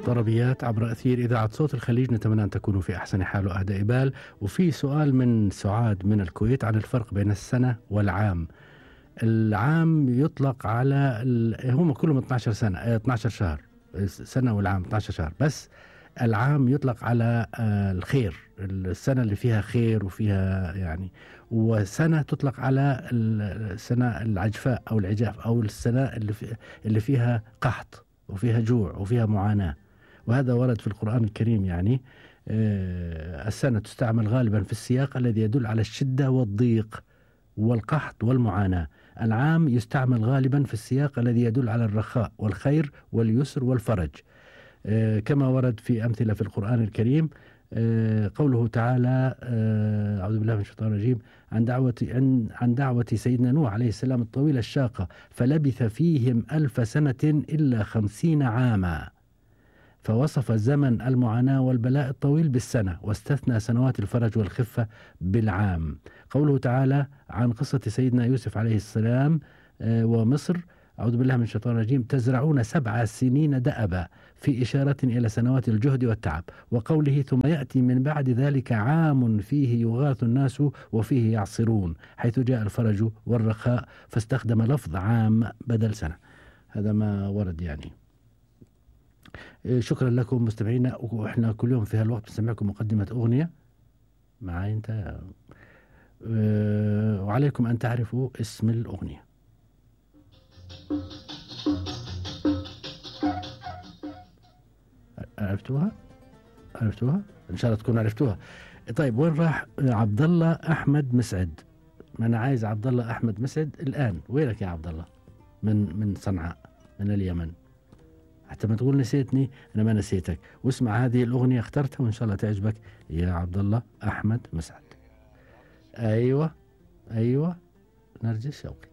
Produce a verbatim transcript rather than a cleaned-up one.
طربيات عبر أثير إذاعة صوت الخليج، نتمنى أن تكونوا في أحسن حال وأهدى إبال. وفي سؤال من سعاد من الكويت عن الفرق بين السنة والعام. العام يطلق على ال... هم كلهم اثنا عشر سنة، اثنا عشر شهر، السنة والعام اثنا عشر شهر، بس العام يطلق على الخير، السنة اللي فيها خير وفيها يعني، وسنة تطلق على السنة العجفاء أو العجاف، أو السنة اللي, في اللي فيها قحط وفيها جوع وفيها معاناة. وهذا ورد في القرآن الكريم. يعني السنة تستعمل غالبا في السياق الذي يدل على الشدة والضيق والقحط والمعاناة. العام يستعمل غالبا في السياق الذي يدل على الرخاء والخير واليسر والفرج، كما ورد في أمثلة في القرآن الكريم. قوله تعالى أعوذ بالله من الشيطان الرجيم عن دعوة عن عن دعوة سيدنا نوح عليه السلام الطويلة الشاقة، فلبث فيهم ألف سنة إلا خمسين عاما. فوصف زمن المعاناة والبلاء الطويل بالسنة، واستثنى سنوات الفرج والخفة بالعام. قوله تعالى عن قصة سيدنا يوسف عليه السلام ومصر، أعوذ بالله من الشيطان الرجيم تزرعون سبع سنين دأبا، في إشارة إلى سنوات الجهد والتعب. وقوله ثم يأتي من بعد ذلك عام فيه يغاث الناس وفيه يعصرون، حيث جاء الفرج والرخاء فاستخدم لفظ عام بدل سنة. هذا ما ورد يعني. شكرا لكم مستمعينا، وإحنا كل يوم في هالوقت بنسمعكم مقدمة أغنية معي أنت، وعليكم أن تعرفوا اسم الأغنية. عرفتوها؟ عرفتوها؟ إن شاء الله تكونوا عرفتوها. طيب وين راح عبد الله أحمد مسعد؟ ما أنا عايز عبد الله أحمد مسعد الآن. وينك يا عبد الله؟ من من صنعاء، من اليمن. حتى ما تقول نسيتني، أنا ما نسيتك. واسمع هذه الأغنية اخترتها وإن شاء الله تعجبك يا عبد الله أحمد مسعد. أيوة أيوة نرجس شوقي.